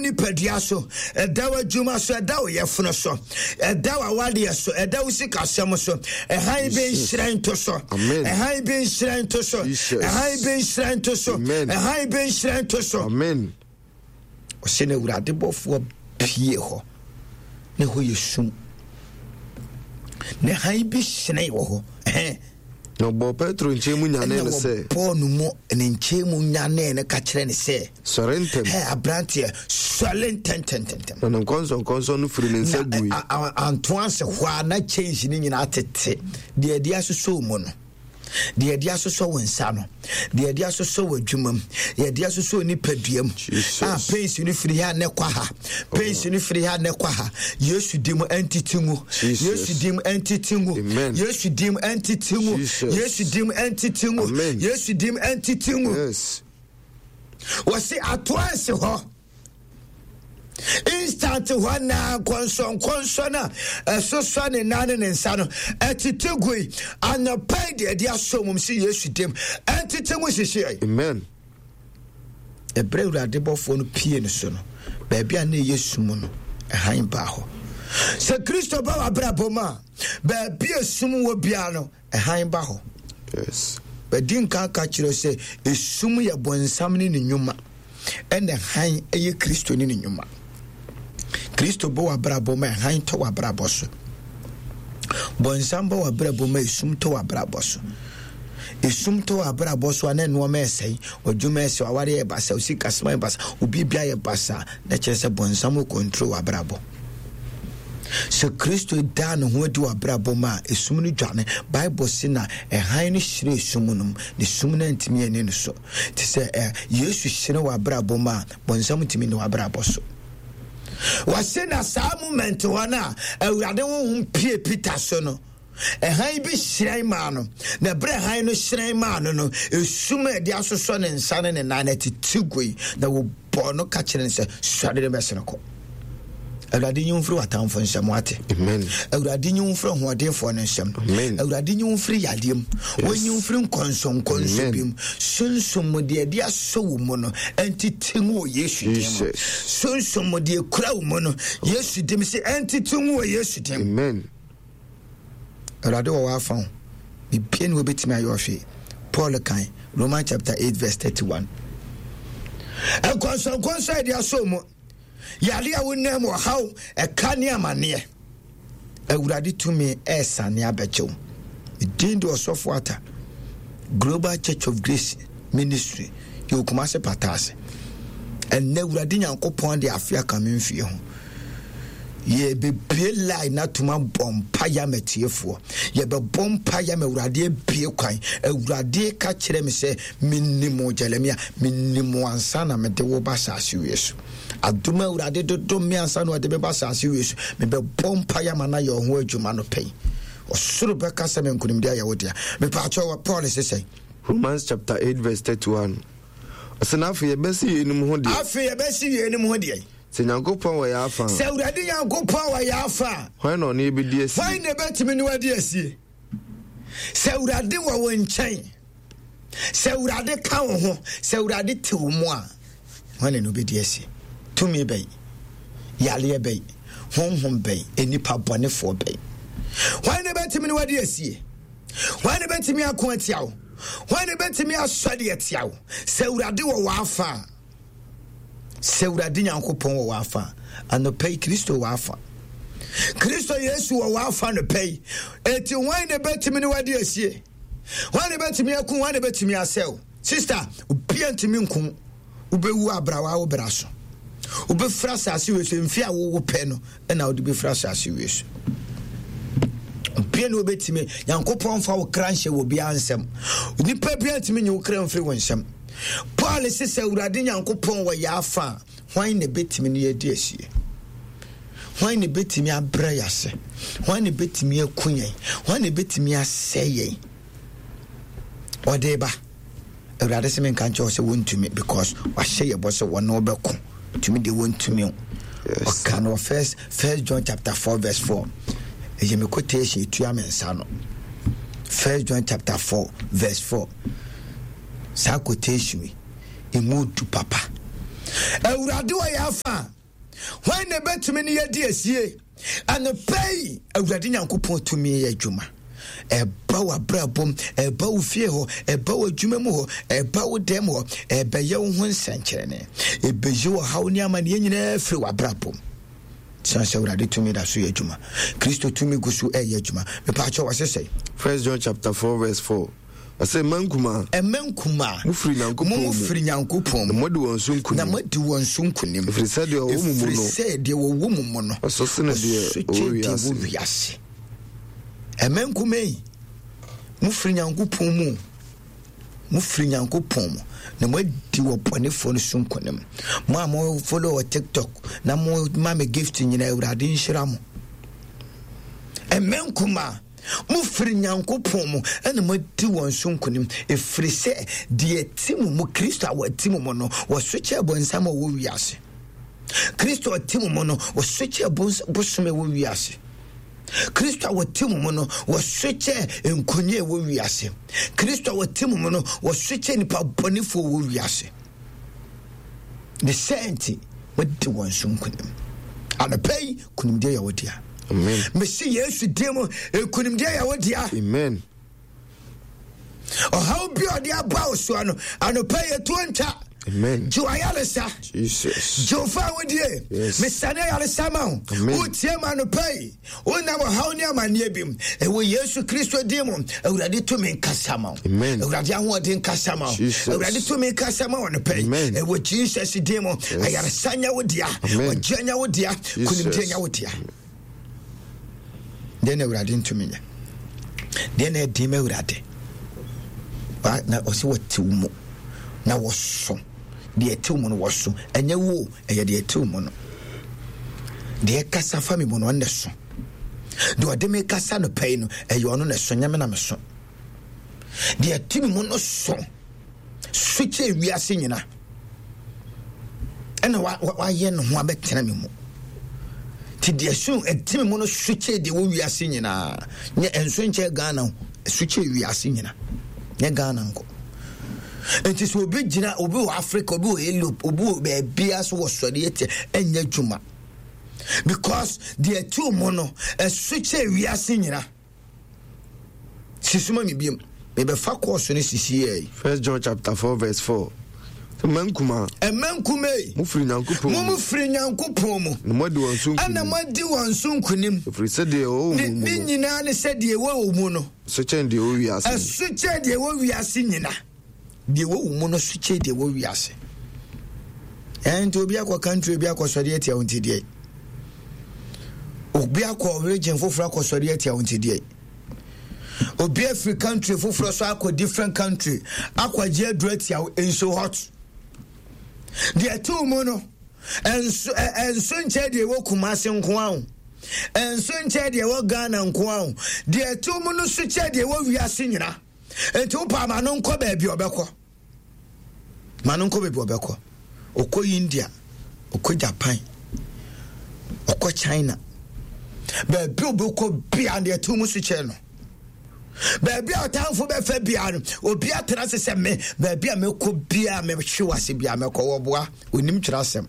nipadua so, ɛda w'adwuma so, ɛda wo yɛfono so, ɛda w'awadeɛ so, ɛda wo sikasɛm so. Ɛhan bi nhyerɛn to so. Ɛhan bi nhyerɛn to so. Ɛhan bi nhyerɛn to so. Ɛhan bi nhyerɛn to so. Amen. Ɔsɛ na Awurade bɔfoɔ pie hɔ na ɛhɔ yɛ sum na hann bi hyerɛn wɔ hɔ. Na ɔbɔɔ Petro nkyɛn mu nyanee no sɛ. Ɛna wɔbɔɔ no mu ne nkyɛn mu nyanee no ka kyerɛ no sɛ. Sɔre ntɛm. Hɛ aberanteɛ, sɔre ntɛmntɛmntɛm. Na ne nkɔnsɔnkɔnsɔn no firi ne nsa gui. Na anto ase hɔ a na kyɛnse no nyinaa tete deɛ ɛde asosɔ mu no. Deɛ yɛde asosɔ wo nsa no, deɛ yɛde asosɔ wɔ adwuma mu, yɛde asosɔ nipadua mu. A pains no firi ha ne kɔ ha, pains no firi ha ne kɔ ha. Yesu di mu ɛntete ngu. Yesu di mu ɛntete ngu. Yesu di mu ɛntete ngu. Yesu di mu ɛntete ngu. Yesu di mu ɛntete ngu. Wɔsi atoa nsi hɔ. Instant hɔ naa nkɔnsɔnkɔnsɔn a ɛsosɔ ne nan ne ne nsa no ɛtete gui. Anɔpa yi deɛ ɛde asɔ mum si Yesu dim ɛntete ngu sisi. Amen. Ɛberɛ Awurade bɔfoɔ no pie no so no, baabi a na ɛyɛ sum no, ɛhan baa hɔ. Sɛ Kristo ba w'abrabɔ mu a, baabi a sum wɔ biara no, Hann ba hɔ. Yes. Bɛdi nka ka kyerɛ sɛ esum yɛ bɔnsam ne ne nnwuma, ɛna hann yɛ Kristo ne ne nnwuma. Kristo bɔ w'abrabɔ ma hann tɔ w'abrabɔ so. Bɔnsam bɔ w'abrabɔ ma esum tɔ w'abrabɔ so. Esum tɔ w'abrabɔ so a na nneɛma ɛsɛe, w'adwuma ɛsɛe, w'aware yɛ basa, wo sikasɛm ayɛ basa, obi bia yɛ basa, na kyerɛ sɛ bɔnsam wɔ control w'abrabɔ. Sɛ Kristo daa ne ho adi wɔ abrabɔ mu a, esum no dwane. Bible se na ɛhan no hyerɛn esum no mu, na esum no antumi anni no so. Te sɛ ɛ, Yesu hyerɛn wɔ abrabɔ mu a, bɔnsam ntumi nni w'abrabɔ so. Wɔse na saa moment hɔ no a Awurade honhom pie Peter so no, Hann bi hyerɛn maa no, na ɛberɛ hann no hyerɛn maa no no, esum a ɛde asosɔ ne nsa ne ne nan no tete gui, na wɔbɔɔ no ka kyerɛ no sɛ, Sɔre ne bɛsene kɔ. Awurade nyi wo mfiri w'atamfo nsam wate. Awurade nyi wo mfiri ahoɔdenfoɔ no nsam. Awurade nyi wo mfiri yadeɛ mu. Wɔnyi wo mfiri nkɔnsɔnkɔnsɔ bi mu. Sunsum mu deɛ ɛde asɔ wo mu no ɛntete ngu wɔ Yesu din mu. Sunsum mu deɛ ekura wo mu no Yesu dim sɛ ɛntete ngu wɔ Yesu din mu. Awurade wɔ w'afa ho. Bibia ni wɔbɛtumi ayɛ ɔhwee. Paul kan Romans chapter 8 verse 31. Nkɔnsɔnkɔnsɔn a yɛde asɔ mu, yare a wonam mu, ɔhaw, ɛka ne amanneɛ. Awurade tumi ɛresane abɛgye wo. Din de ɔsɔfo ata. Global Church of Grace Ministry yɛ Kumasi pata ase. Ɛnnɛ Awurade Nyankopɔn de afe aka me mfie ho. Yɛbɛbue line no atom abɔ mpaeɛ ama atiefoɔ. Yɛbɛbɔ mpaeɛ ama Awurade abue kwan. Awurade ka kyerɛ me sɛ, menim wo Jeremia, menim wo ansa na mede wo ba asase wie so. Adom a Awurade de dom me ansa na ɔde me ba asase wie so. Mebɛbɔ mpaeɛ ama no ayɛ ɔho adwuma no pɛn. Ɔsoro bɛka sɛ me nkonimdi ayɛ wo dea. Mepaakyɛw, Paul se sɛn? Romans chapter 8 verse 31. Ɔsɛ na afei yɛbɛsi yeinom ho deɛ. Afei yɛbɛsi yeinom ho deɛ. Sɛ Nyankopɔn wɔ yɛn afa a. Sɛ Awurade Nyankopɔn wɔ yɛn afa a. Hwan na ɔne yɛbɛdi asie? Hwan na ɛbɛtumi ne wadi asie? Sɛ Awurade wɔ wo nkyɛn, sɛ Awurade ka wo ho, sɛ Awurade te wo mu a, hwan na ne wobɛdi asie? Tumi bɛn? Yareɛ bɛn? Honhom bɛn? Nnipa bɔnefoɔ bɛn? Hwan na ɛbɛtumi ne wadi asie? Hwan na ɛbɛtumi ako atia wo? Hwan na ɛbɛtumi asɔre atia wo? Sɛ Awurade wɔ w'afa a, Sɛ Awurade Nyankopɔn wɔ w'afa, anɔpa yi Kristo wɔ w'afa. Kristo Yesu wɔ w'afa anɔpa yi. Eti hwan na ebetumi ne wadi asie? Hwan na ebetumi aku? Hwan na ebetumi asɛw? Sista, obia ntumi nko. Wobɛwu abrawa wo bra so. Wobɛfiri asase wei so mfe a wowo pɛ no ɛna wode bɛfiri asase wei so. Obia ne wobɛtumi Nyankopɔn fa wo kra nhyɛ wɔ biara nsɛm. Nipa biara ntumi nyi wo kra mfiri wo nsɛm. Paul se sɛ Awurade Nyankopɔn wɔ yɛ afa a, hwan na ebetumi ne yɛadi asie? Hwan na ebetumi abrɛ yɛ ase? Hwan na ebetumi aku yɛn? Hwan na ebetumi asɛe yɛn? Ɔde ba. Awurade sɛ menka nkyerɛ wo sɛ wontumi because wahyɛ yɛ bɔ sɛ wɔne wobɛko. Tumi deɛ wontumi o. Ɔka no wɔ first John chapter 4 verse 4. Ɛyɛ me quotation etua me nsa no. First John chapter 4 verse 4. Saa quotation yi, emu du papa. Awurade wɔ yɛn afa a, hwan na ɛbɛtumi ne yɛdi asie? Anɔpa yi, Awurade Nyankopɔn tumi yɛ adwuma. Ɛba w'abrabɔ mu, ɛba wo fie hɔ, ɛba w'adwuma mu hɔ, ɛba wo dɛm hɔ, ɛbɛyɛ wo ho nsɛnkyerɛnne. Ɛbɛyi ɔhaw ne amanneɛ nyinaa firi w'abrabɔ mu. Siane sɛ Awurade tumi da so yɛ adwuma. Kristo tumi gu so ɛyɛ adwuma. Mepaakyɛ wɔ sesɛe. First John chapter 4 verse 4. Ɔsɛ mma nkumaa. Mma nkumaa. Mo firi Nyankopɔn mu. Mo firi Nyankopɔn mu. Na moadi wɔn so nkunim. Na moadi wɔn so nkunim. Ɛfiri sɛ deɛ ɔwɔ mo mu no. Ɛfiri sɛ deɛ wɔwɔ mo mu no. Ɔsɔ sene deɛ ɔwɔ wiase. Ɔwɔ wiase. Mma nkumaa yi, mo firi Nyankopɔn mu. Mo firi Nyankopɔn mu. Na moadi wɔ bɔnefoɔ no so nkunim. Mo a mo follow wɔ TikTok na mo ma me gift nyinaa Awurade nhyira mo. Mma nkumaa. Mofiri Nyankopɔn mu na moadi wɔn so nkonim, ɛfiri sɛ deɛ ɛte mo mu, Kristo a wɔte mo mu no, wɔso kyɛɛ bonsam a ɔwɔ wiase. Kristo a ɔte mo mu no, wɔso kyɛɛ bosom a ɛwɔ wiase. Kristo a wɔte mo mu no, wɔso kyɛɛ nkonya a ɛwɔ wiase. Kristo a wɔte mo mu no, wɔso kyɛɛ nipa bɔnefoɔ wɔ wiase. Ne sɛ nti, wadi wɔn so nkonim. Anɔpa yi, nkonimdie yɛ wo dea. Mese Yesu din mu, nkonimdie yɛ wo dea. Amen. Ɔhaw bi a ɔde aba wo soɔ no, anɔpa yi ɛtuo ntwa. Amen. Gye w'ayaresa. Jesus. Gye wo fa awodie. Yes. Mesane ayaresa ma wo. Wotie ma anɔpa yi. Wonam ɔhaw ne amanneɛ bi mu. Ɛwɔ Yesu Kristo din mu, Awurade tumi nkasa ma wo. Awurade ahoɔden nkasa ma wo. Awurade tumi nkasa ma wo anɔpa yi. Ɛwɔ Jesus din mu, ayaresa nyɛ wo dea. Ɔgyeɛ nyɛ wo dea. Konimdie nyɛ wo dea. Deɛ na Awurade ntumi nyɛ. Deɛ na ɛden ma Awurade. Na ɔsɛ wɔte wo mu na wɔso. Deɛ ɛte wo mu no wɔso. Ɛnyɛ wo ɛyɛ deɛ ɛte wo mu no. Deɛ ɛkasa fa me mu no ɔno na ɛso. Deɛ ɔde me kasa no pɛi no ɛyɛ ɔno na ɛso nyɛ me na me so. Deɛ ɛte me mu no so so kyɛ wiase nyina ɛna wayɛ ne ho abɛtena me mu. Nti deɛ so ɛte me mu no so kyɛ deɛ wɔ wiase nyinaa. Nyɛ ɛnso nkyɛ Ghana so kyɛ wiase nyina. Nyɛ Ghana nko. Nti sɛ obi gyina obi wɔ Africa obi wɔ Europe obi wɔ baabia so wɔ sɔre atia ɛnyɛ adwuma because deɛ ɛte mu no ɛso kyɛ wiase nyina. Sisuma mi biem mebɛfa kɔɔso no sisi yɛ yi. First John chapter 4 verse 4. Mma nkumaa. Mma nkumaa yi. Mo firi Nyankopɔn mu. Mo firi Nyankopɔn mu. Na mo adi wɔn so nkunim. Ɛna mo adi wɔn so nkunim. Ɛfiri sɛ deɛ ɛwɔ mu no. Ne nyinaa ne sɛ deɛ ɛwɔ mu no. So kyɛn deɛ ɛwɔ wiase. Ɛso kyɛn deɛ ɛwɔ wiase nyina. Deɛ ɛwɔ wo mu no so kyɛn deɛ ɛwɔ wiase. Ɛnti obi akɔ country obi akɔ sɔre atia wo nti deɛ. Obi akɔ region foforɔ akɔ sɔre atia wo nti deɛ. Obi afiri country foforɔ so akɔ different country akɔ agye aduro atia wo nso hot. Deɛ ɛte wo mu no ɛnso ɛnso nkyɛn deɛ ɛwɔ Kumasi nko ara o. Ɛnso nkyɛn deɛ ɛwɔ Ghana nko ara o. Deɛ ɛte mu no so kyɛn deɛ ɛwɔ wiase nyina. Nti wopaa ma no nkɔ baabi ɔbɛkɔ. Ma no nkɔ baabi ɔbɛkɔ. Ɔkɔ India, ɔkɔ Japan, ɔkɔ China. Baabi ɔbɛkɔ bia deɛ ɛte mu so kyɛn no. Baabi a ɔtamfo bɛfa bia no, obi atena ase sɛ me, baabi a mɛkɔ bia mɛhwe wase bia mɛkɔ wɔboa, onim twerɛ asɛm.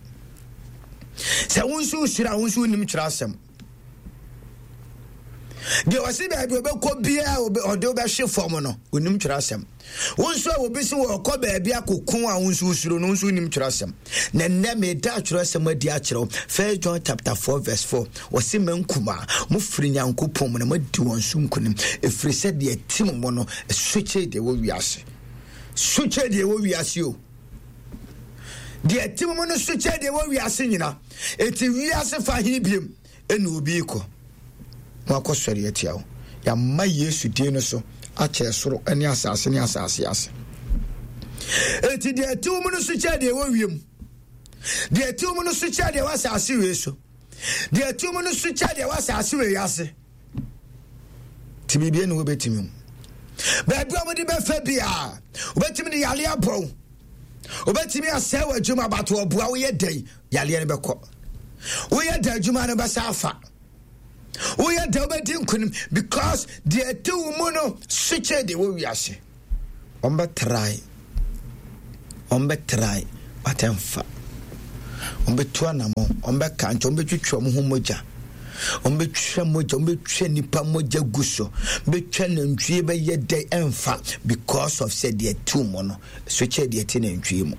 Sɛ wo nso wosuro a, wo nso wonim twerɛ asɛm. Deɛ ɔse baabi ɔbɛkɔ biara ɔde wobɛhwe fam no, onim twerɛ asɛm. Wo nso a obi se wɔkɔ baabi akɔko a wo nso wosuro no, wo nso wonim twerɛ asɛm. Na nnɛ meda twerɛ asɛm adi akyerɛ wo. First John chapter 4 verse 4. Ɔse mma nkumaa, mofiri Nyankopɔn mu na moadi wɔn so nkonim, ɛfiri sɛ deɛ ɛte mo mu no, ɛso kyɛe deɛ ɛwɔ wiase. So kyɛe deɛ ɛwɔ wiase o. Deɛ ɛte mo mu no so kyɛe deɛ ɛwɔ wiase nyina. Eti wiase fa he biem ɛna obi kɔ na wakɔ sɔre atia wo. Yɛama Yesu din no so akyɛ soro ne asase ne asase ase. Eti deɛ ɛte wo mu no so kyɛe deɛ ɛwɔ wiem. Deɛ ɛte wo mu no so kyɛe deɛ ɛwɔ asase wei so. Deɛ ɛte wo mu no so kyɛe deɛ ɛwɔ asase wei ase. Nti biribi ne wobɛtumi mu. Baabi a wɔde bɛfa biara, wobɛtumi de yare abɔ wo. Wobɛtumi asɛe w'adwuma bato ɔboa woyɛ dɛn yareɛ no bɛkɔ. Woyɛ dɛn adwuma no bɛsa afa. Woyɛ dɛn wobɛdi nkonim because deɛ ɛte wo mu no so kyɛn deɛ wɔ wiase. Wɔbɛtrae, wɔbɛtrae but ɛmfa. Wɔbɛtu anammɔn, wɔbɛka nkyɛ, wɔbɛtwitwa wɔn ho mogya. Wɔbɛtwa mogya, wɔbɛtwa nipa mogya gu so. Bɛtwa nantwie bɛyɛ dɛ ɛmfa because of sɛ deɛ ɛte mu no, so kyɛ deɛ ɛte nantwie mu.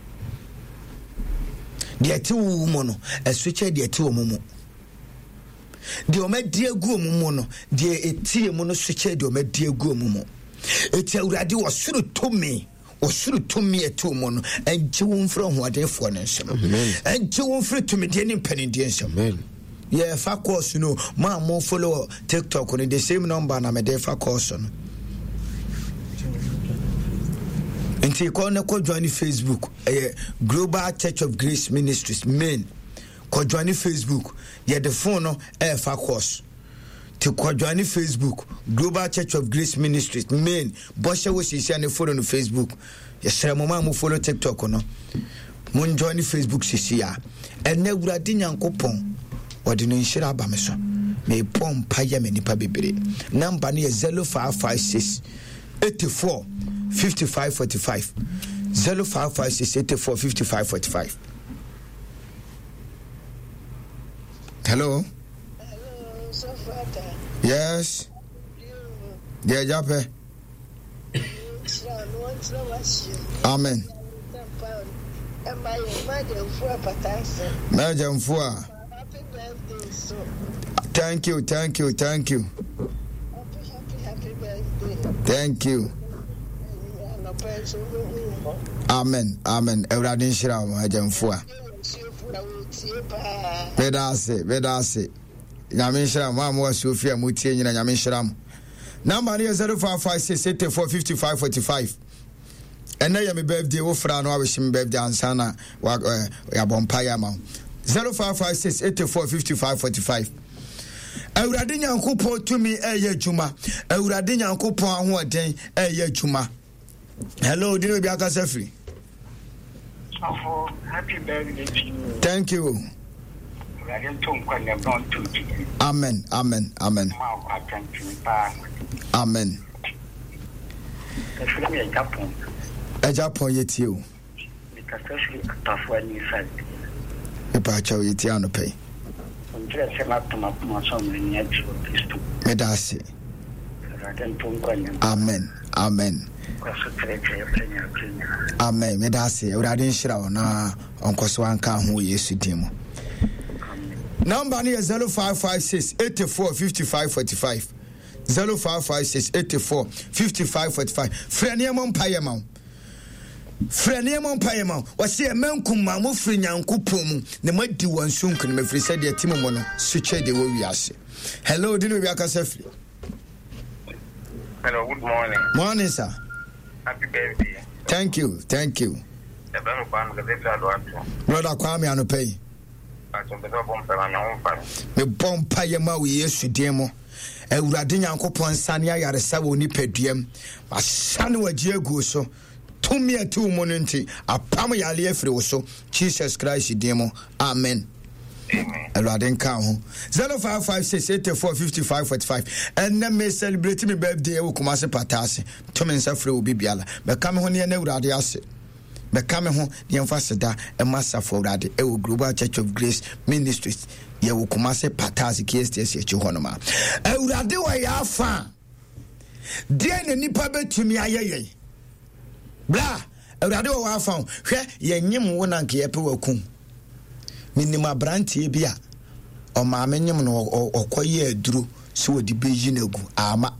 Deɛ ɛte wo mu no, ɛso kyɛ deɛ ɛte wɔn mu. Deɛ wɔadi agu wɔn mu no, deɛ ɛtie mu no so kyɛ deɛ wɔadi agu wɔn mu. Eti Awurade wɔ soro tumi. Ɔsoro tumi ɛte mu no ɛngye wo mfiri ɔhoɔdenfoɔ no nsam, ɛngye wo mfiri tumidie ne mpanindie nsam. Yɛfa course no mo a mo follow TikTok no, the same number na mede fa course no. Nti kɔ ne kɔ join Facebook, ɛyɛ Global Church of Grace Ministries main. Kɔ join Facebook, yɛde phone no ɛɛfa course. Ti kɔ join Facebook, Global Church of Grace Ministries main. Bɔhyɛ wɔ sisia ne follow no Facebook. Yɛsrɛ mo ma mo follow TikTok no. Mo join Facebook sisia. Ɛnɛ Awurade Nyankopɔn wɔde no nhyira aba me so. Mebɔ mpa yɛ me nipa bebree. Number no yɛ 0556 84 55 45. 0556 84 55 45. Hello. Yes. Deɛ agya pɛ. Amen. Mɛgya mfua. Thank you, thank you, thank you. Thank you. Amen, amen. Awurade nhyira wo agya mfua. Meda ase, meda ase. Nyame nhyira mo a mowɔ asuo fie a motie nyina Nyame nhyira mo. Namba no yɛ 0556 84 55 45. Ɛnɛ yɛ me birthday wo fra no awehye me birthday ansa na yɛabɔ mpa yɛ ama wo. 0556 84 55 45. Awurade Nyankopɔn tumi ɛyɛ adwuma. Awurade Nyankopɔn ahoɔden ɛyɛ adwuma. Hello, di na obi akasa firi. Sɔfo, happy birthday to you. Thank you. Awurade nto nkwa na ɛbɛn nto gyidi. Amen, amen, amen. Ma ɔkɔ atɛntene paa. Amen. Ɛfiri mi ɛgya pɔn. Ɛgya pɔn yɛ tie o. Mekasa firi Atafo ani side. Mepa akyɛw yɛ tie anɔpɛ yi. Nkyerɛ sɛ mato m'akoma so ama ani agye wɔ Kristo mu. Meda ase. Awurade nto nkwa nna mu. Amen. Amen. Kɔ so kyerɛkyerɛ yɛ bere nyinaa bere nyinaa. Amen. Meda ase. Awurade nhyira wo na ɔnkɔ so anka ho wɔ Yesu din mu. Number no yɛ 0556 84 55 45. 0556 84 55 45. Frɛ nneɛma mpa yɛ ma wo. Frɛ nneɛma mpaeɛ ma wo. Wɔse ɛmɛ nkumaa mo firi Nyankopɔn mu na moadi wɔn so nkonim ɛfiri sɛ deɛ ɛte mo mu no so kyɛ deɛ wɔ wiase. Hello, di ne obi akasa firi. Hello, good morning. Morning, sir. Happy birthday. Thank you, thank you. Brother Kwame anɔpa yi. Mebɔ mpaeɛ ma wo Yesu din mu. Awurade Nyankopɔn nsane ayaresa wɔ nipaduam. Masane wagye aguo so. Tumi a ɛte wo mu no nti, apam yareɛ afiri wo so. Jesus Christ din mu. Amen. Awurade nka ho. 0556 84 55 45. Ɛnɛ me celebrate me birthday ɛwɔ Kumasi Pataase. To me nsa frɛ obi biara. Bɛka me ho ne ɛnɛ Awurade ase. Bɛka me ho na yɛmfa aseda mma Asafo Awurade ɛwɔ Global Church of Grace Ministries. Yɛwɔ Kumase Pataase KSTS akyi hɔ nom a. Awurade wɔ yɛ afa a, deɛn na nipa bɛtumi ayɛ yɛn? Bra, Awurade wɔ wɔ afa o. Hwɛ, yɛnyem wo na nka yɛpɛ wakum. Menim aberanteɛ bi a ɔmaame nyem no ɔkɔyɛ aduro sɛ wɔde bɛyi no agu ama.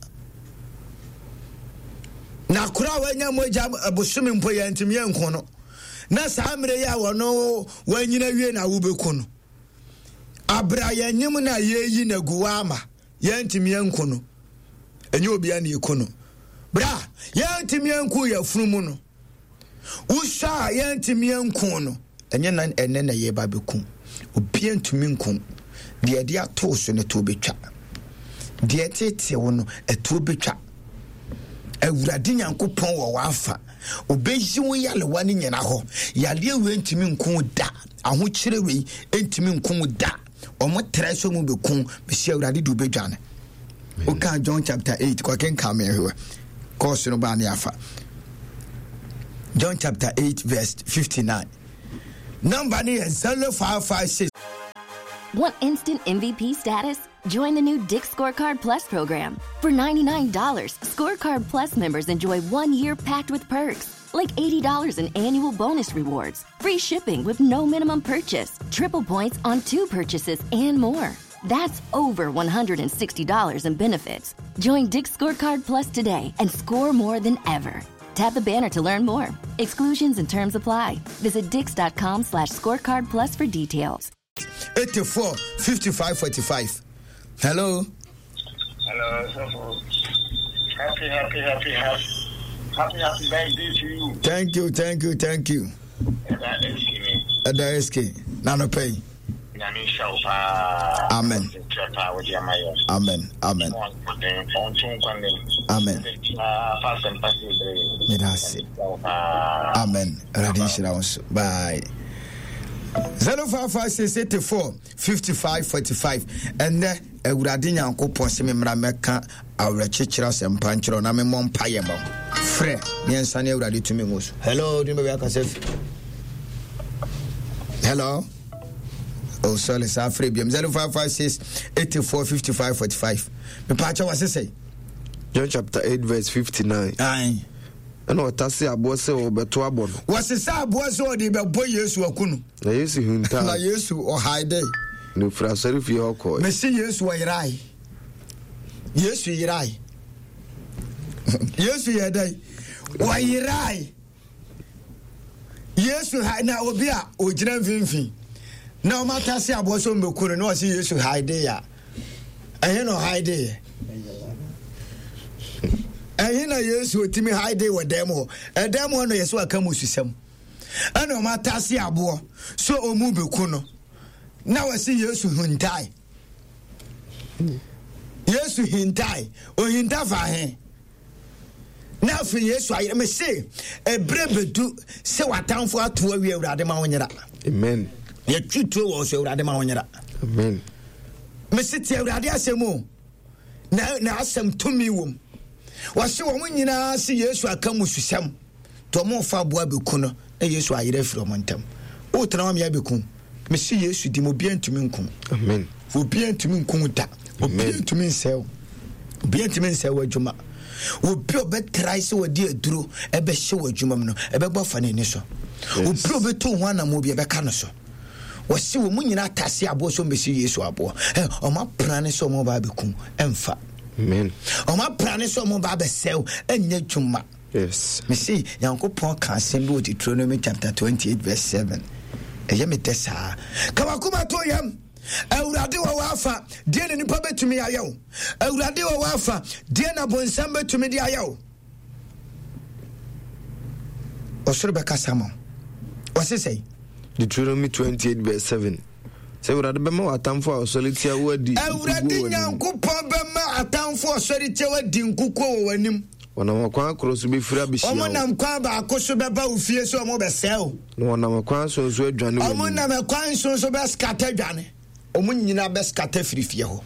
Na koro a wanya mogya bosome mpo yɛntumi anku no. Na saa mmerɛ yi a wɔno wanyina wie na wobɛku no. Abere a yɛnyem no a yɛyi no agu hɔ ama yɛntumi anku no. Ɛnyɛ obiara na ɛku no. Berɛ a yɛntumi anku yɛfunu mu no, wosɔ a yɛntumi anku no, ɛnyɛ na ɛnɛ na yɛba bɛku. Obiara ntumi nku. Deɛ ɛde ato so no ɛtoɔ bɛtwa. Deɛ ɛtetee wo no ɛtoɔ bɛtwa. Awurade Nyankopɔn wɔ w'afa. Ɔbɛyi wo yalewa no nyina hɔ. Yareɛ wei ntumi nku wo da. Ahokyerɛ wei ntumi nku wo da. Ɔmo trɛ sɛ ɔmo bɛku. Bɛsi Awurade de wobɛdwane. Woka John chapter 8 kɔkenka me hwɛ. Kɔɔso no baa ne afa. John chapter 8 verse 59. Number no yɛ 0556. Want instant MVP status? Join the new Dick's Scorecard Plus program. For $99, Scorecard Plus members enjoy one year packed with perks, like $80 in annual bonus rewards, free shipping with no minimum purchase, triple points on two purchases, and more. That's over $160 in benefits. Join Dick's Scorecard Plus today and score more than ever. Tap the banner to learn more. Exclusions and terms apply. Visit dix.com slash scorecard plus for details. 84 55 45. Hello. Hello, Sofo. Happy, happy, happy, happy, happy, happy birthday to you. Thank you, thank you, thank you. Ɛda SK ni. Ɛda SK. Nano pɛyi. Nyame nhyira wo paa. Amen. Nkyerɛ paa wode ama yɛn. Amen. Amen. Ɔnto nkwa nna mu. Amen. Fa asɛmpa si bere. Meda ase. Amen. Awurade nhyira wo nso. Bye. 0556 84 55 45 ɛnnɛ awurade nyankopɔn sɛ memmra mɛka awerɛkyekyerɛ asɛmpa nkyerɛ na memmɔ mpayɛ ma frɛ ne ɛnsa ne awurade tumi ngu so hello de baabi akasɛ fi hello oh sorry saa frɛ biam 0556 84 55 45 mepaakyɛ wɔ sesɛ John chapter 8 verse 59 Aye. Ɛna ɔtase aboɔ sɛ ɔbɛto abɔ no. Wɔsesa aboɔ sɛ ɔde bɛbɔ Yesu aku no. Na Yesu hintaa. Na Yesu ɔhae dɛ. Na ofiri asɔrefie hɔ kɔe. Mese Yesu ɔyerae. Yesu yerae. Yesu yɛ dɛn? Ɔyerae. Yesu ha na obi a ogyina mfimfini na wɔn atase aboɔ sɛ ɔmbɛku no na ɔse Yesu hae de a ɛhe na ɔhae de yɛ? Ɛhe na Yesu otumi hae de wɔ dan mu hɔ? Ɛdan mu hɔ no yɛ sɛ waka mususɛm ɛna wɔn atase aboɔ sɛ ɔmu bɛku no na wɔse Yesu huntae. Yesu hintae. Ohinta fa he? Na afei Yesu ayɛ me se ɛberɛ bɛdu sɛ w'atamfo ato awie Awurade ma wo nyera. Amen. Yɛtwi tuo wɔ so Awurade ma wo nyera. Amen. Me se te Awurade asɛm o. Na na asɛm tumi wom. Wɔse wɔn nyinaa se Yesu aka mususɛm. Nti wɔn fa aboa bɛku no na Yesu ayerɛ afiri wɔn ntam. Wotena hɔ mea bɛku. Mese Yesu di mu obiara ntumi nku. Amen. Obiara ntumi nku da. Obiara ntumi nsɛe wo. Obiara ntumi nsɛe w'adwuma. Obi a ɔbɛtrae sɛ wɔde aduro ɛbɛhyɛ w'adwuma mu no ɛbɛbɔ afa n'ani so. Obi a ɔbɛtu ho anammɔ bi ɛbɛka no so. Wɔse wɔn mu nyinaa atase aboɔ sɛ wɔbɛsi Yesu aboɔ. Wɔn apra ne sɛ wɔn ba abɛkum ɛmfa. Amen. Wɔn apra ne sɛ wɔn ba abɛsɛe ɛnyɛ adwuma. Yes. Mese Nyankopɔn ka asɛm bi wɔ Deuteronomy chapter 28 verse 7. Ɛyɛ me dɛ saa. Ka wakoma to yam. Awurade wɔ w'afa, deɛ na nipa bɛtumi ayɛ wo. Awurade wɔ w'afa, deɛ na bonsam bɛtumi de ayɛ wo. Ɔsoro bɛkasa ma wo. Ɔse sɛi. Deuteronomy 28 verse 7. Sɛ Awurade bɛma w'atamfo a wɔsɔre tia wo adi nkoguo wɔ Awurade w'anim. Nyankopɔn bɛma atamfo a wɔsɔre tia wo adi nkoguo wɔ w'anim. Wɔnam ɔkwan koro so bɛfiri abɛhyia wo. Wɔnam kwan baako so bɛba wo fie sɛ wɔbɛsɛe wo. Na wɔnam ɛkwan nson so adwane w'anim. Wɔnam ɛkwan nson so bɛskata adwane. Wɔn nyinaa bɛskata firi fie hɔ.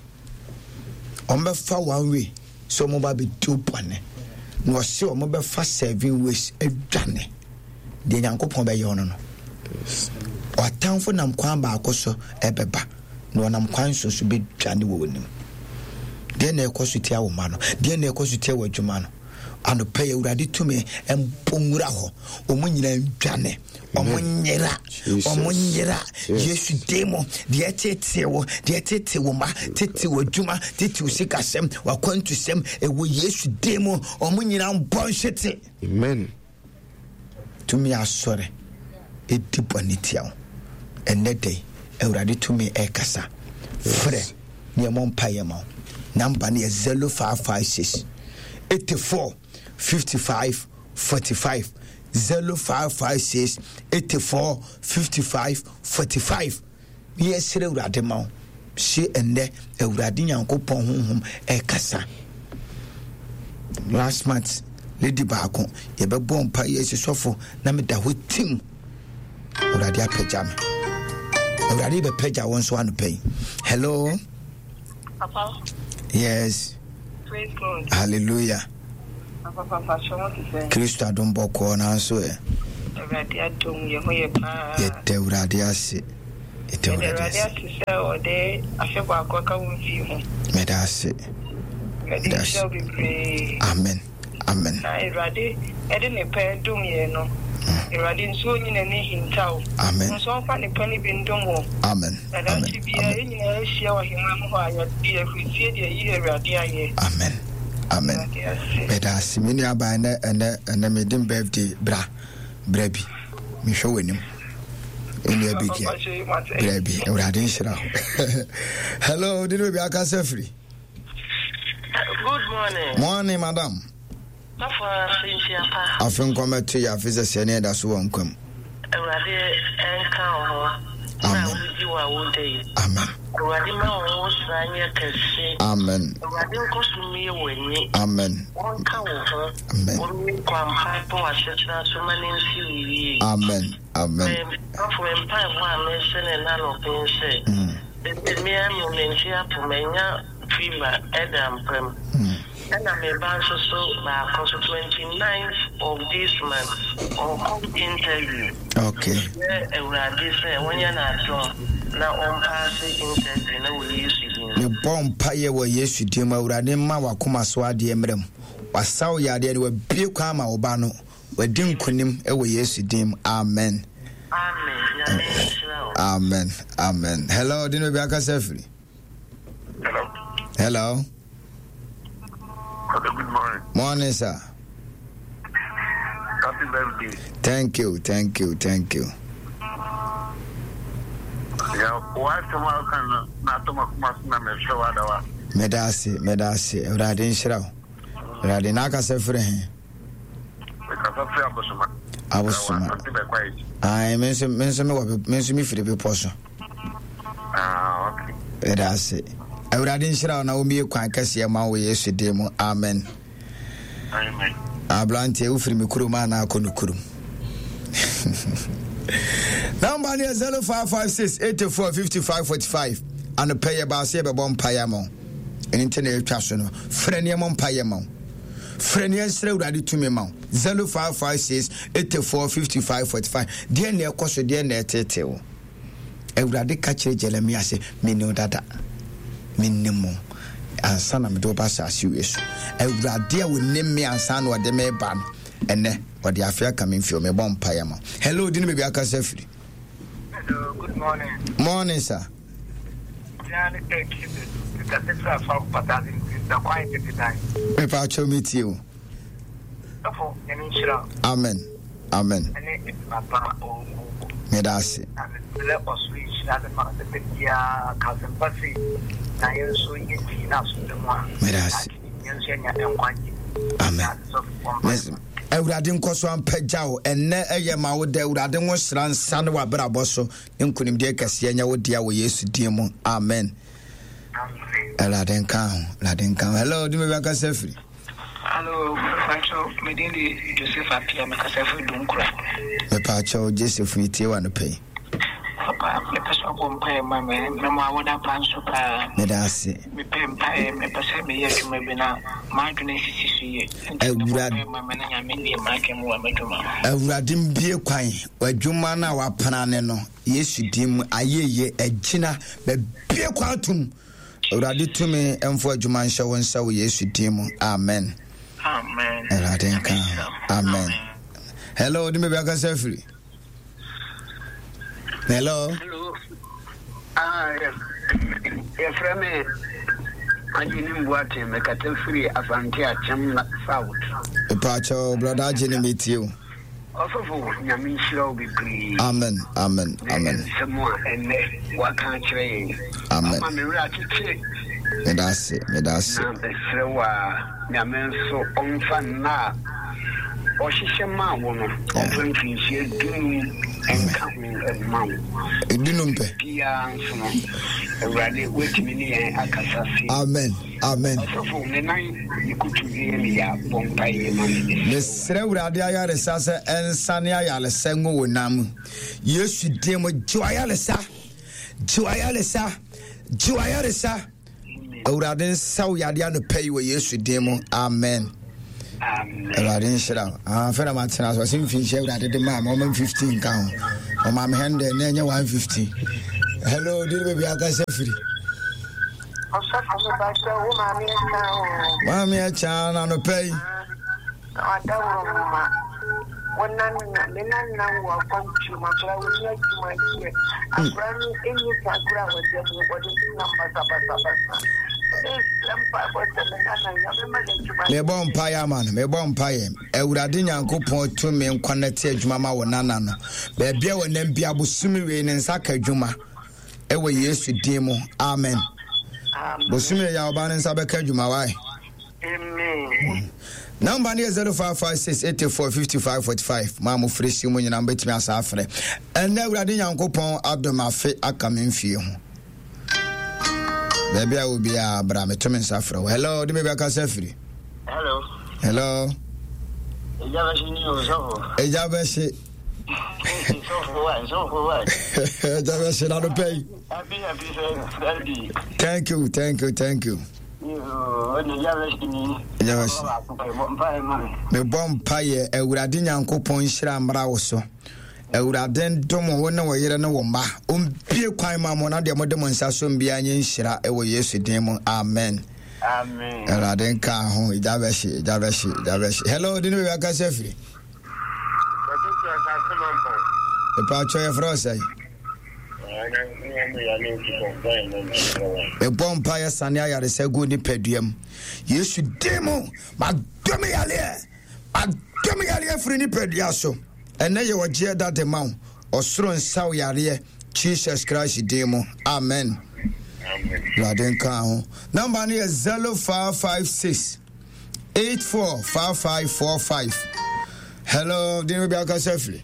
Wɔbɛfa one way sɛ wɔba abɛdi wo bɔne. Na wɔse wɔbɛfa seven ways adwane. Deɛ Nyankopɔn bɛyɛ ɔno no. Ɔtamfo nam kwan baako so ɛbɛba na ɔnam kwan nson so bɛdwane wɔ w'anim. Deɛ na ɛkɔ so tia wo mma no, deɛ na ɛkɔ so tia w'adwuma no. Anɔpa yi Awurade tumi mbɔ nwura hɔ. Wɔn nyinaa ndwane. Wɔn nyera. Wɔn nyera. Yesu din mu. Deɛ ɛtetee wo, deɛ ɛtetee wo mma, tete w'adwuma, tete wo sikasɛm, w'akwantusɛm, ɛwɔ Yesu din mu. Wɔn nyinaa mbɔ nhwete. Amen. Tumi asɔre ɛdi bɔne tia wo. Ɛnnɛ da yi, Awurade tumi ɛrekasa. Frɛ ne yɛmmɔ mpaeɛ ma wo. Namba no yɛ 0556 84 55 45 0556 84 55 45 Ne yɛsrɛ Awurade ma wo se ɛnnɛ Awurade Nyankopɔn honhom ɛkasa. Last month lady baako yɛbɛbɔ mpa yɛ si sɔfo na meda hɔ tim Awurade apagya me. Awurade bɛpagya wo nso anɔpa yi. Hello. Papa. Yes. Praise God. Hallelujah. Papa, papa, Kristo adom bɔkɔɔ nanso ɛ. Awurade adom yɛn ho yɛ paa. Yɛda Awurade ase. Yɛda Awurade ase sɛ ɔde afe baako aka wo mfie ho. Meda ase. Awurade nhyira wo bebree. Amen. Amen. Na Awurade de ne pɛ dom yɛn no. Awurade nso onyi n'ani nhinta wo. Amen. Nso ɔmfa ne pɛ no bi ndom wo. Amen. Na daakye biara yɛn nyinaa ahyia wɔ ahemman mu hɔ a yɛde ahurisie de ayi Awurade ayɛ. Amen. Amen. Meda ase. Me nua baa ɛnɛ ɛnɛ ɛnɛ me din birthday bra bra bi. Mehwɛ w'anim. Nua bi gɛ. Bra bi. Awurade nhyira wo. Hello, di ne baabi akasa firi. Good morning. Morning, madam. Sɔfo afe nhyia pa. Afe nkɔmɛto yɛ afe sɛ sɛ ne ɛda so wɔ nkwa mu. Awurade nka wo ho. Amen. Na wodi wo awoda yi. Amen. Awurade ma wo ho sra nyɛ kɛse. Amen. Awurade nkɔ so mmue w'ani. Amen. Ɔnka wo ho. Amen. Ɔmmue kwampa wɔ w'asetena so ma no nsi wo yie. Amen. Amen. Sɔfo me mpaebɔ a mesrɛ no ɛna anɔpa yi sɛ, sɛ me ara me mente apo manya fever ɛda mpa mu. Ɛna me ba nso so baako nso 29th of this month ɔkɔ interview. Okay. Mesrɛ Awurade sɛ ɔnyɛ no adom na ɔmpaase interview no wɔ Yesu din mu. Mebɔ mpaeɛ wɔ Yesu din mu Awurade mma w'akoma so adeɛ mmra mu. Wasa wo yadeɛ no wabue kwan ama wo ba no. Wadi nkonim wɔ Yesu din mu. Amen. Amen. Nyame nhyira wo. Amen. Amen. Hello, di no bi akasa firi. Hello. Hello. Hello, good morning. Morning, sir. Happy birthday. Thank you, thank you, thank you. Yeah, why tomorrow can na toma kuma na me hwɛ wa da wa. Meda ase, meda ase. Awurade nhyira wo. Awurade na akasa firi he. Mekasa firi Abosoma. Abosoma. Ayi, me nso me nso me wɔ me nso me firi bepɔ so. Ah, okay. Ɛda ase. Awurade nhyira wo na wɔmmie kwan kɛseɛ ma wo Yesu din mu. Amen. Amen. Aberanteɛ wofiri me kurom anaa akɔ no kurom. Namba no yɛ 0556 84 55 45. Anɔpɛ yɛ baase yɛbɛbɔ mpaeɛ ama wo. Ɛno nti na yɛtwa so no. Frɛ nneɛma mpaeɛ ma wo. Frɛ ne yɛnsrɛ Awurade tumi ma wo. 0556 84 55 45. Deɛ na ɛkɔ so, deɛ na ɛtetee wo. Awurade ka kyerɛ Jeremia sɛ, Menim dada, menim wo ansa na mede wo ba asase wei so. Awurade a ɔnim me ansa na ɔde me ba no, ɛnɛ ɔde afe aka me mfio, mebɔ mpaeɛ ma. Hello, di ne baabi akasa firi. Hello, good morning. Morning, sir. Mepa kyɛw me tie o. Amen. Amen. Meda ase. Meda ase. Amen. Awurade nkɔ so ampagya wo ɛnnɛ ɛyɛ ma wo dɛ Awurade ngo sra nsa ne w'abrabɔ so Ne nkonimdie kɛseɛ nyɛ wo dea wɔ Yesu din mu. Amen. Awurade nka ho. Awurade nka ho. Hello, di me bɛ kasa firi. Hello, mepakyɛw, me din de Joseph Apia, me kasa firi Dunkura. Mepakyɛw, Joseph, me tie wa no pɛyi. Papa, mepɛ sɛ ɔbɔ mpaeɛ ma me, na mo awoda pa nso paa. Meda ase. Mepɛ mpaeɛ, mepɛ sɛ meyɛ adwuma bi na m'adwene sisi so yie. Nti mebɔ mpaeɛ ma me na Nyame bie m'adwene mu wɔ m'adwuma ho. Awurade mbie kwan w'adwuma no a wapena ne no Yesu din mu ayeyie agyina bɛbie kwan atom Awurade tumi mfo adwuma nhyɛ wo nsa wɔ Yesu din mu amen. Amen. Awurade nka amen. Hello, di me bi akasa afiri. Hello. Hello. Ah, yɛfrɛ me Agyenim Boateng, mekasa firi Asante Akyem South. Mepaakyɛw, brɔda Agyenim metie o. Ɔsɔfo, Nyame nhyira wo bebree. Amen, amen, amen. Ne nsɛm a ɛnnɛ waka akyerɛ yɛn. Amen. Ama me werɛ akyekye. Meda ase, meda ase. Na mesrɛ wo a, Nyame nso ɔmfa nna a ɔhyehyɛ maa wo no, ɔmfa mfirinhyia dunum nka ho mma wo. Dunum pɛ. Biara nso no, Awurade woatumi ne yɛn akasa se. Amen, amen. Ɔsɔfo, me nan ne kutu yɛ me ya, bɔ mpaeɛ ma me. Mesrɛ Awurade ayaresa sɛ ɛnsane ayaresa ngu wo nan mu. Yesu din mu, gye w'ayaresa, gye w'ayaresa, gye w'ayaresa. Awurade nsa wo yadeɛ anɔpa yi wɔ Yesu din mu. Amen. Awurade nhyira wo. Ah, afei na matena so. Ɔse mfinhyia Awurade de maa me, ɔma me 15 nka ho. Ɔma me 100 na ɛnyɛ 150. Hello, di ne baabi akasa firi. Ɔsɔfo mepakyɛ wo maame ɛkya o. Maame ɛkya na anɔpa yi. Ɔdaworo ma wo nana me nana wɔ akwantuo mu akora wo ni adwuma yɛ akora no ɛnni saa kora a wɔde mu wɔde nam basabasabasa ɛsrɛ mpaebɔ sɛ me nana nyame ma no adwuma. Mebɔ mpaeɛ ama no, mebɔ mpaeɛ. Awurade Nyankopɔn tumi nkwa no te adwuma ma wo nana no. Baabi a wɔnam bi abosome wei ne nsa ka adwuma. Ɛwɔ Yesu din mu. Amen. Bosome yɛ ɔba no nsa bɛka adwuma wae. Amen. Namba no yɛ 0556 84 55 45. Maa mo frɛ si mu nyinaa mobɛtumi asa afrɛ. Ɛnnɛ Awurade Nyankopɔn adom afe aka me mfie ho. Baabi a obiara bra meto me nsa frɛ wo. Hello, de me bɛkasa firi. Hello. Hello. Ɛgya bɛhye ni o sɔfo. Ɛgya bɛhye. Sɔfo wa, sɔfo wa. Ɛgya bɛhye na no pɛ yi. Happy happy birthday. Thank you, thank you, thank you. Mebɔ mpaeɛ Awurade Nyankopɔn nhyira mmra wo so. Awurade ndom wo ne wo yere ne wo mma. Ombie kwan ma mo na deɛ mode mo nsa so mbiara nyɛ nhyira wɔ Yesu din mu. Amen. Amen. Awurade nka ho. Egya bɛhye, egya bɛhye, egya bɛhye. Hello, di ne baabi akasa firi. Mepatwɔ yɛfrɛ wo sɛn? Mebɔ mpaeɛ sane ayaresa gu nipadua mu. Yesu din mu, madome yareɛ, madome yareɛ firi nipadua so. Ɛnɛ yɛ ɔgyeɛ da de ma wo. Ɔsoro nsaw yareɛ, Jesus Christ din mu. Amen. Awurade nka ho. Namba no yɛ 0556 845545. Hello, din obi akasa firi.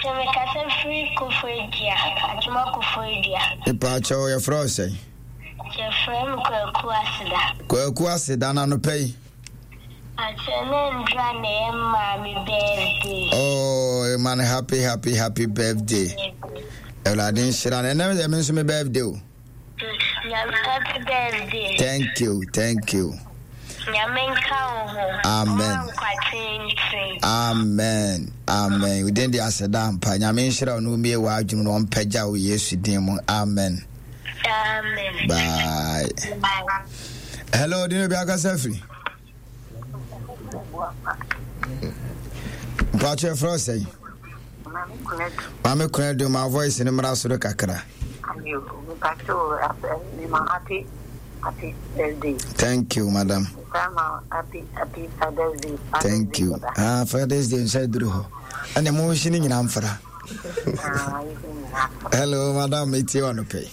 Sɛ mekasa firi Koforidua, Atwoma Koforidua. Mepaakyɛw, yɛfrɛ wo sɛn? Yɛfrɛ me Kwaku Aseda. Kwaku Aseda, na anɔpa yi? Akyɛ ne ndra na ɛyɛ maame birthday. Oh, man, happy, happy, happy birthday. Awurade nhyira no. Ɛnɛ yɛ me nso me birthday o. Nyame happy birthday. Thank you, thank you. Nyame nka wo ho. Amen. Amen. Amen. Within the aseda ampa. Nyame nhyira wo na omie w'adwene na ɔmpagya wo Yesu din mu. Amen. Amen. Bye. Bye. Hello, dino bi akasa firi. Mpacho efrɛ wo sɛn? Maame Kunadu, ma voice no mmra soro kakra. Thank you, madam. Happy, Father's Day. Thank you. Ah, Father's Day nsa duru hɔ. Ɛna mo nhyi ne nyinaa mfra. Hello, madam, metie wa no pɛ.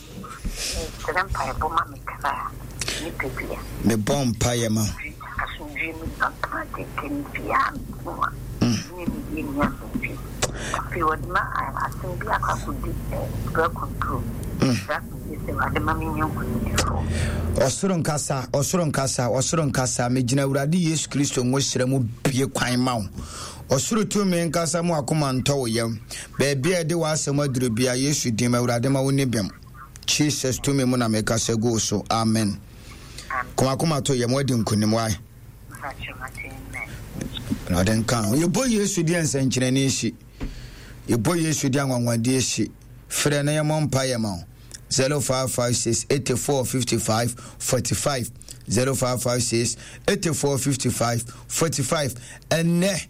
Mesrɛ mpaebɔ ma me kra nipadua. Mebɔ mpaeɛ ma wo. Asomdwoeɛ mu papa tenten biara me ho a ne me yie ni asomdwoeɛ. Afei wɔde ma asɛm bi akɔ akɔdi bra control. Bra asomdwoeɛ sɛ Awurade ma menyɛ nkonimdifoɔ. Ɔsoro nkasa, ɔsoro nkasa, ɔsoro nkasa. Megyina Awurade Yesu Kristo ngosra mu bue kwan ma wo. Ɔsoro tumi nkasa mu akoma ntɔ wo yam. Baabi a yɛde w'asɛm aduru bia, Yesu din mu, Awurade ma wo ni bem. Jesus tumi mu na mekasa gu wo so. Amen. Koma to yam, wadi nkonim wae. Awurade nka ho. Yɛbɔ Yesu deɛ nsɛnkyerɛnne si. Yɛbɔ Yesu deɛ anwanwadeɛ si. Frɛ na yɛmmɔ mpaeɛ ma wo. 0556 84 55 45 0556 84 55 45 ɛnnɛ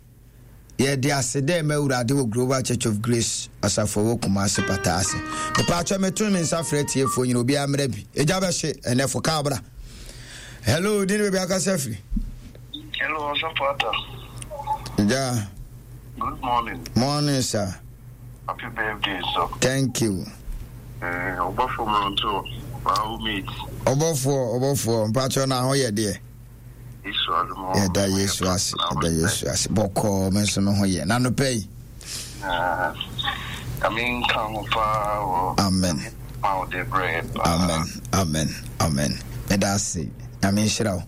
Yɛde aseda rema Awurade wɔ Global Church of Grace asafo ɛwɔ Kumasi Pata ase. Mepaakyɛ meto me nsa frɛ tiefoɔ nyina obiara mmerɛ bi. Egya bɛhye ɛnɛ fo kaa bra. Hello, din baabi akasa firi. Hello, Ɔsɔfo Atta. Egya. Good morning. Morning, sir. Happy birthday, sir. Thank you. Eh, ɔbɔfoɔ mmeranteɛ, wow mate. Ɔbɔfoɔ, ɔbɔfoɔ, mpakyɛ na ho yɛ deɛ. Yɛda Yesu ase, yɛda Yesu ase. Bɔkɔɔ, me nso me ho yɛ. Na anɔpa yi. Amen. Amen, amen, amen. Meda ase. Nyame nhyira wo.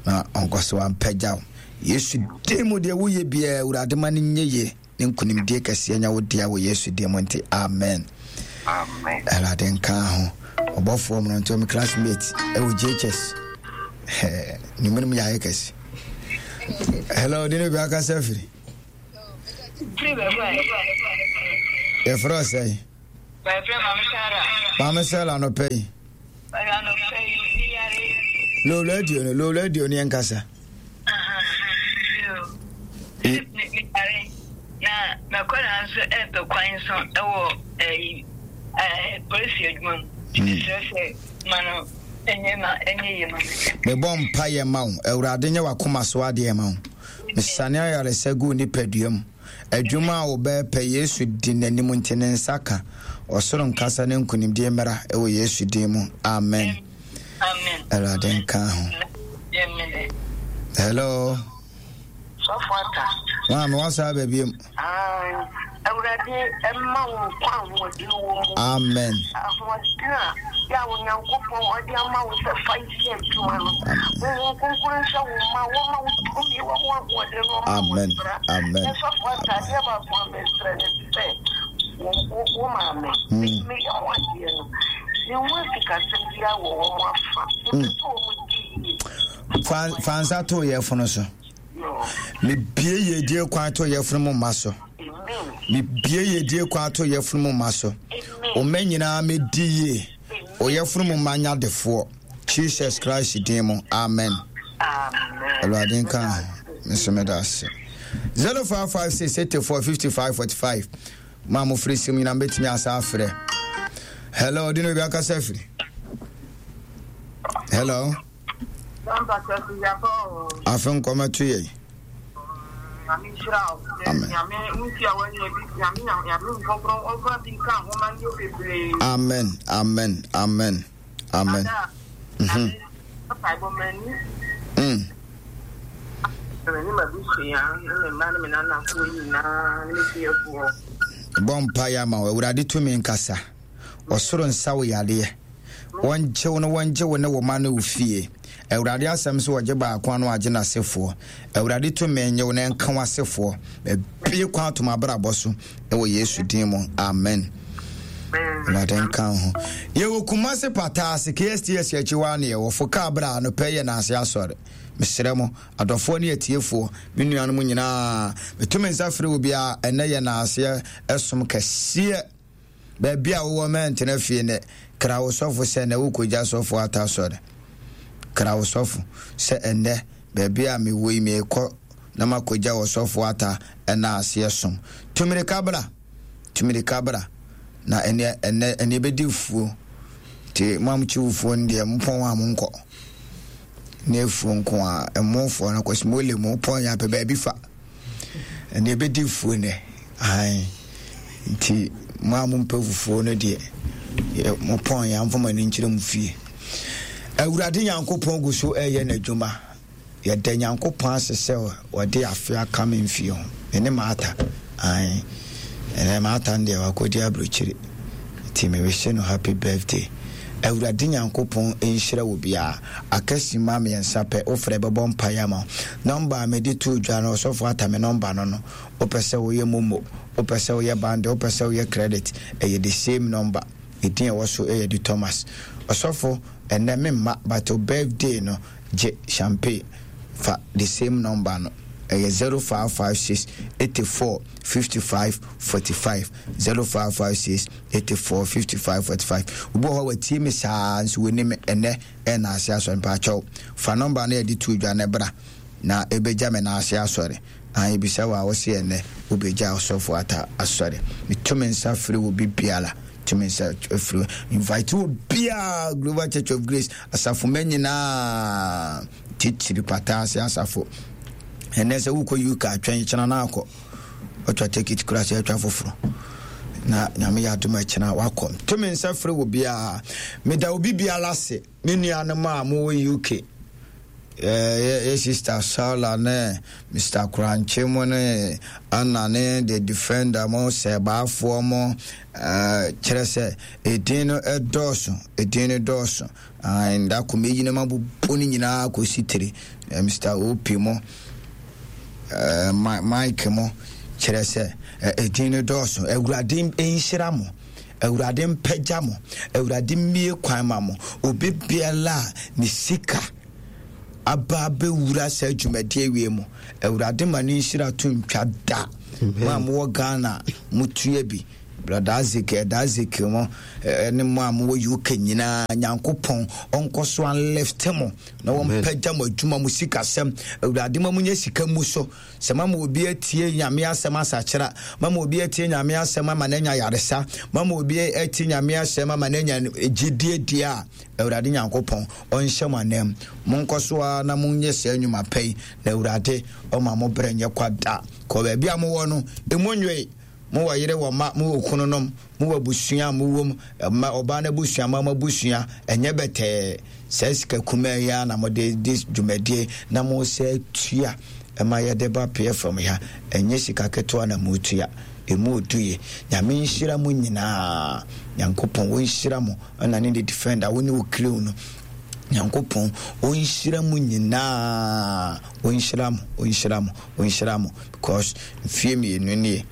Na ɔnkɔ so ampagya wo. Yesu din mu deɛ woyɛ biara, Awurade ma no nyɛ yie. Ne nkonimdie kɛseɛ nya wo dea wɔ Yesu din mu nti, amen. Awurade nka ho. Ɔbɔfoɔ mmeranteɛ me classmate ɛwɔ JHS. Ne mu no mu yɛ ayɛ kɛse. Hello, di ne bi akasa firi. Yɛfrɛ ɔsɛe. Maame Sarah anɔpɛ yi. Low radio no, low radio no yɛnkasa. Na mɛkɔla nso ɛpɛ kwan nso ɛwɔ ɛyi ɛɛ polisi adwuma mu. Mesrɛ sɛ ma no ɛnyɛ ma ɛnyɛ yie ma me. Mebɔ mpaeɛ ma wo. Awurade nyɛ w'akoma so adeɛ ma wo. Mesane ayaresa gu wo nipadua mu. Adwuma a wobɛpɛ Yesu di n'anim nti ne nsa ka. Ɔsoro nkasa ne nkonimdie mmra wɔ Yesu din mu. Amen. Awurade nka ho. Hello. Sɔfo Ata. Maame wasa aba biem. Awurade mma wo nkwa ahoɔden wɔ mu. Amen. Ahoɔden a yɛ a Onyankopɔn ɔde ama wo sɛ fa yɛ adwuma no. Honhom Kronkron nhyɛ wo ma wɔma wo tumi wɔ ho ahoɔden no ɔma wo Amen. bra. Amen. Na sɔfo Ata adeɛ baako a mesrɛ ne sɛ wo wo maame meyɛ ho adeɛ no ne ho asikasɛm biara wɔ wɔn afa. Mepɛ sɛ wɔn di yie. Fa fa nsa to yɛfono so. Mebie yiedie kwan to yɛfono mu mma so. Mebie yiedie kwan to yɛfono mu mma so. Ɔma nyinaa medi yie. Ɔyɛfono mu mma nya defoɔ. Jesus Christ din mu. Amen. Awurade nka ho. Nso meda ase. 0556 84 55 45 ma mo firi sim nyinaa mbɛtumi asa afrɛ. Hello, di na obi akasa afiri. Hello. Afe nkɔmɛto yɛn. Amen. Amen. Amen. Amen. Mm. Mm. Bɔ mpaeɛ ama wo Awurade tumi nkasa. Ɔsoro nsa wo yadeɛ. Wɔngye wo no wɔngye wo ne wo ma ne wo fie. Awurade asɛm so wɔgye baako ano agye n'asefoɔ. Awurade tumi nye wo na ɛnka w'asefoɔ. Bie kwan atom abrabɔ so ɛwɔ Yesu din mu. Amen. Awurade nka ho. Yɛwɔ Kumase Pataase KSTS akyi hɔ a ne yɛwɔ fo kaa berɛ a anɔpɛ yɛ n'ase asɔre. Mesrɛ mo adɔfoɔ ne atiefoɔ, me nuanom nyinaa, meto me nsa frɛ obiara ɛnɛ yɛ n'aseɛ ɛsom kɛseɛ. Baabi a wowɔ mɛntena fie nnɛ. Kra wo sɔfo sɛ ɛnnɛ wokɔgya sɔfo ata asɔre. Kra wo sɔfo sɛ ɛnnɛ baabi a mewɔ yi merekɔ na makɔgya ɔsɔfo ata ɛna aseɛ som. Tu mirika bra, tu mirika bra na ɛnɛ ɛnɛ ɛnɛ ɛbɛdi fuo. Nti mo a mokyi wo fuo no deɛ mopɔn a monkɔ. Ne afuo nko a ɛmofoɔ no kɔsi mo le mo pɔn yɛ apɛ baabi fa. Ɛnna ɛbɛdi fuo nnɛ. Ae. Nti mo a mompɛ fufuo no deɛ, mopɔn yɛ amfa mo ani nkyerɛ mo fie. Awurade Nyankopɔn gu so ɛyɛ n'adwuma. Yɛda Nyankopɔn ase sɛ wɔde afe aka me mfie ho. Me ne Martha. Ae. Ɛnɛ Martha no deɛ wakɔdi aburokyire. Nti me wish no happy birthday. Awurade Nyankopɔn nhyira wo biara. Aka simma miensa pɛ wo frɛ bɛbɔ mpaeɛ ama wo. Number a mede too dwa no ɔsɔfo ata me number no no. Wopɛ sɛ woyɛ momo, wopɛ sɛ woyɛ bundle, wopɛ sɛ woyɛ credit, ɛyɛ the same number. Edin a ɛwɔ so yɛ de Thomas. Ɔsɔfo ɛnnɛ me mma but wo birthday no gye champagne fa the same number no. Ɛyɛ 0556 84 55 45 0556 84 55 45. Obi wɔ hɔ a watie me saa nso wɔnim me ɛnnɛ ɛna ase asɔre mpaakyɛw fa nɔmba no yɛde to dwa no bra na ɛbɛgya me na ase asɔre na ebisa wɔ a wɔse ɛnɛ wobɛgya ɔsɔfo ata asɔre meto me nsa frɛ wɔ bi biara to me nsa frɛ invite wɔ biara Global Church of Grace asafo ma nyinaa titiri pata ase asafo ɛnɛ sɛ wokɔ UK atwɛn kyena no akɔ ɔtwa ticket kura sɛ atwa foforɔ na nyame yɛ adom akyena wakɔ to me nsa frɛ wɔ biara meda obi biara ase me nuanom a mowɔ UK yɛ sister Saula ne Mr. Korankye mo ne Anna ne the defender mo sɛbaafoɔ mo kyerɛ sɛ ɛdin no ɛdɔɔso ɛdin no dɔɔso nda ko meyi no mabobɔ no nyinaa kɔsi tiri Mr. OP mo Mike mo kyerɛ sɛ ɛdin no dɔɔso awurade nhyira mo awurade mpagya mo awurade mmie kwan ma mo obi biara a ne sika. aba abɛwura saa dwumadie wie mu. Awurade ma ne nhyira to ntwa da. Mo a mowɔ Ghana motua bi. Brother Isaac, Elder Isaac mo ne mo a mowɔ UK nyinaa, Nyankopɔn ɔnkɔ so anlifte mo na wɔmpagya mo adwuma mo sikasɛm. Awurade ma monyɛ sika mu so. Sɛ mama obi atie Nyame asɛm asakyera, mama obi atie Nyame asɛm ama no anya yaresa, mama obi atie Nyame asɛm ama no anya gyidie deɛ a, Awurade Nyankopɔn ɔnhyɛ mo anam. Monkɔ so ara na monyɛ saa nnwuma pa yi, na Awurade ɔma mo berɛ nyɛ kwa da. Kɔ baabi a mowɔ no, emu nwoe. Mowɔ yere, wɔ mma, mowɔ kununom, mowɔ abusua a mowɔ mu, mma, ɔbaa no abusua, mma mo abusua, ɛnyɛ bɛtɛɛ. Saa sika kumaa yi ara na mode di dwumadie na mosɛ tua ɛma yɛde ba PFM ha. Ɛnyɛ sika ketewa na motua. Emu odu ye. Nyame nhyira mo nyinaa. Nyankopɔn ɔnhyira mo ɛna ne ne defender wo ne wo crew no. Nyankopɔn ɔnhyira mo nyinaa. Ɔnhyira mo, ɔnhyira mo, ɔnhyira mo because mfie mmienu nie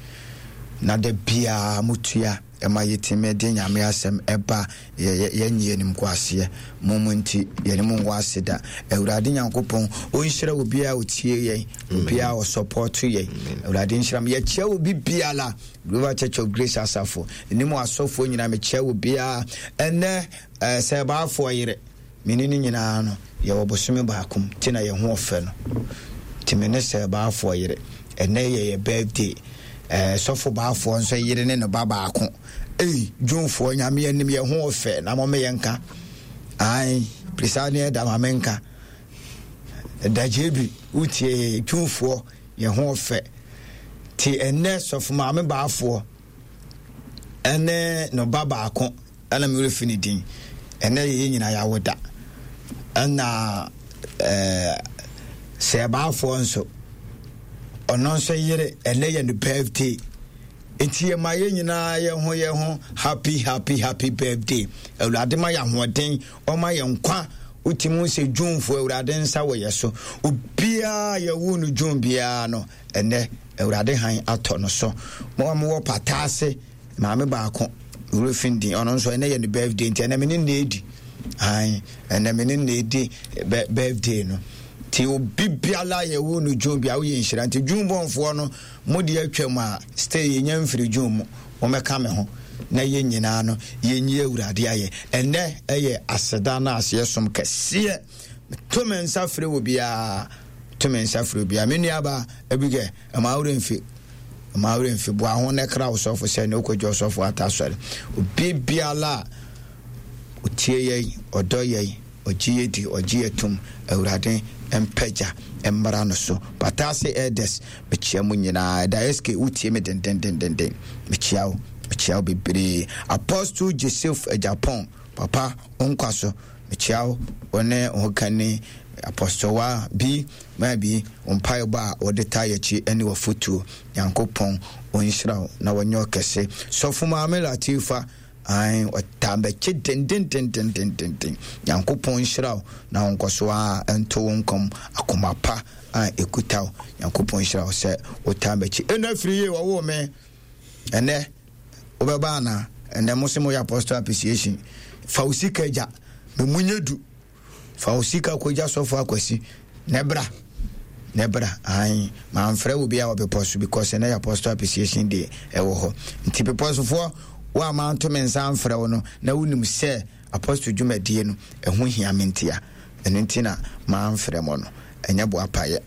na da biara motua ɛma yɛtumi de Nyame asɛm ɛba yɛnyɛ animguaseɛ mo mo nti yɛne mo ngu ase da. Awurade Nyankopɔn ɔnhyira obiara ɔtie yɛn, obiara ɔsɔpɔto yɛn. Awurade nhyira mo. Yɛkyia obi biara Global Church of Grace asafo ne mu asɔfoɔ nyinaa mekyia obiara ɛnɛ sɛ baafoɔ yere Me ne no nyinaa no, yɛwɔ bosome baako mu, nti na yɛn ho ɔfɛ no. Nti me ne Sir Baafoɔ yere, ɛnɛ yɛ yɛ birthday. Eh, Sɔfo Baafoɔ nso yere ne ne ba baako. Ei, June-foɔ, Nyame anim yɛn ho ɔfɛ, na mo me yɛn nka. Ae, Prisa ne ɛda ma me nka. Ɛda JB, wotie June-foɔ, yɛn ho ɔfɛ. Nti ɛnɛ Sɔfo Maame Baafoɔ ɛne ne ba baako. Ɛna me werɛ fi ne din. Ɛnɛ yɛ yɛn nyinaa yɛawo da. Ɛna ɛɛ sɛɛbaafoɔ nso ɔno nso yere ɛnɛ yɛ ne birthday. Nti yɛ ma yɛn nyinaa yɛn ho yɛn ho happy happy happy birthday. Awurade ma yɛ ahoɔden, ɔma yɛ nkwa. Wotumi hu sɛ Junefoɔ Awurade nsa wɔ yɛ so. Obiara yɛwo no June biara no ɛnɛ Awurade han atɔ no so. Mo a mowɔ pata ase. Maame baako, me werɛ fi ne din, ɔno nso ɛnɛ yɛ ne birthday nti ɛnɛ me ne no edi. Ae, ɛnɛ me ne no edi birthday no. Nti obi biara yɛ wo no June bia woyɛ nhyira. Nti June bɔnfoɔ no, mo deɛ atwam a, stay yɛnya mfiri June mu. Wɔmmɛka me ho na yɛn nyinaa no yɛnyi Awurade ayɛ. Ɛnɛ ɛyɛ aseda no aseɛ som kɛseɛ. To me nsa frɛ wɔ biara. To me nsa frɛ obiara. Me nuabaa Abigail, Mma wo werɛ mfi, mma wo werɛ mfi. Boa ho na kra ɔsɔfo sɛ ne wokɔgye ɔsɔfo ata asɔre. Obi biara a ɔtie yɛn, ɔdɔ yɛn, ɔgye yɛ di, ɔgye yɛ tom, Awurade mpagya mmra no so. Patase Elders, mekyia mo nyinaa. Ɛda SK, wotie me dendendendenden. Mekyia wo, mekyia wo bebree. Apostle Joseph Agyapong, papa, wo nkwa so. Mekyia wo, wo ne wo hokani Apostle Wa bi. Maybe wo mpaebɔ a wode taa yɛkyi ne w'afotuo. Nyankopɔn ɔnhyira wo na ɔnyɛ wo kɛse. Sɔfo Maame Latifa, ae, ɔtaa m'akyi dendendendendenden. Nyankopɔn nhyira wo na ɔnkɔ so ara nto wo nkwa mu akoma pa a ɛkuta wo. Nyankopɔn nhyira wo sɛ wotaa m'akyi. Ɛnna firi yie wɔwoo me. Ɛnɛ wobɛba anaa? Ɛnɛ mo se moyɛ apostle appreciation. Fa wo sika gya. Me mu nyɛ du. Fa wo sika kɔgya sɔfo akwasi na bra na bra ae mamfrɛ wo bia wɔ bepɔ so because ɛnɛ yɛ apostle appreciation day ɛwɔ hɔ nti bepɔ sofoɔ wo a manto me nsa amfrɛ wo no na wonim sɛ apostle dwumadie no ɛho hia me ntia ɛno nti na mamfrɛ mo no ɛnyɛ boapayɛ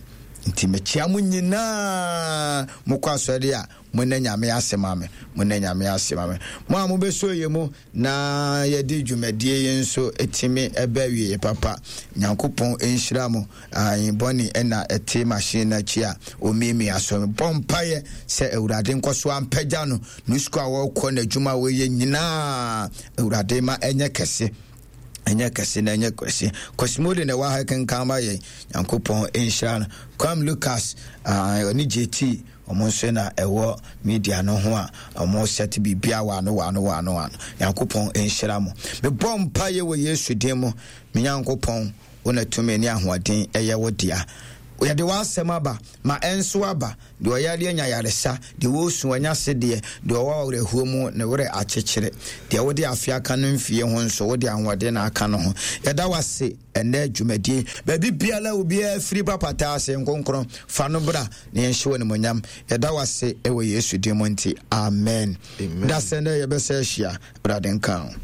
nti mekyia mo nyinaa mokɔ asɔre a mo na nyame ase ma me mo na nyame ase ma me mo a mobɛsɔ yɛ mu Na yɛde dwumadie yi nso tumi ba awieɛ papa. Nyankopɔn nhyira mo. Ae, bɔne na ɛte machine no akyi a ɔmiamia so. Mebɔ mpaeɛ sɛ Awurade nkɔ so ampagya no, ne sukuu a wɔrekɔ, n'adwuma a wɔyɛ nyinaa, Awurade ma ɛnyɛ kɛse. Ɛnyɛ kɛse na ɛnyɛ kɛse. Kwasimode na ɛwɔ ha kenkan ma yɛn. Nyankopɔn nhyira no. Kwam Lucas, ɔne JT. Wɔn nso na ɛwɔ media no ho a wɔn set biribiara wɔ ano wɔ ano wɔ ano wɔ ano. Nyankopɔn nhyira mo. Mebɔ mpaeɛ wɔ Yesu din mu. Me Nyankopɔn, wo na tumi ne ahoɔden ɛyɛ wo dea. Yɛde w'asɛm aba, ma ɛnso aba. Deɛ ɔyareɛ anya yaresa, deɛ ɔresu anya sedeɛ, deɛ ɔwɔ awerɛhoɔ mu ne werɛ akyekyere. Deɛ wode afe aka no mfie ho nso, wode ahoɔden na aka no ho. Yɛda wo ase ɛnnɛ dwumadie. Baabi biara a obiara firi ba pataa ase, nkonkron, fa no bra na yɛnhyɛ wo animuonyam. Yɛda wo ase wɔ Yesu din mu nti, amen. Da sɛ nnɛ yɛbɛsɛ ahyia, Awurade nka wo.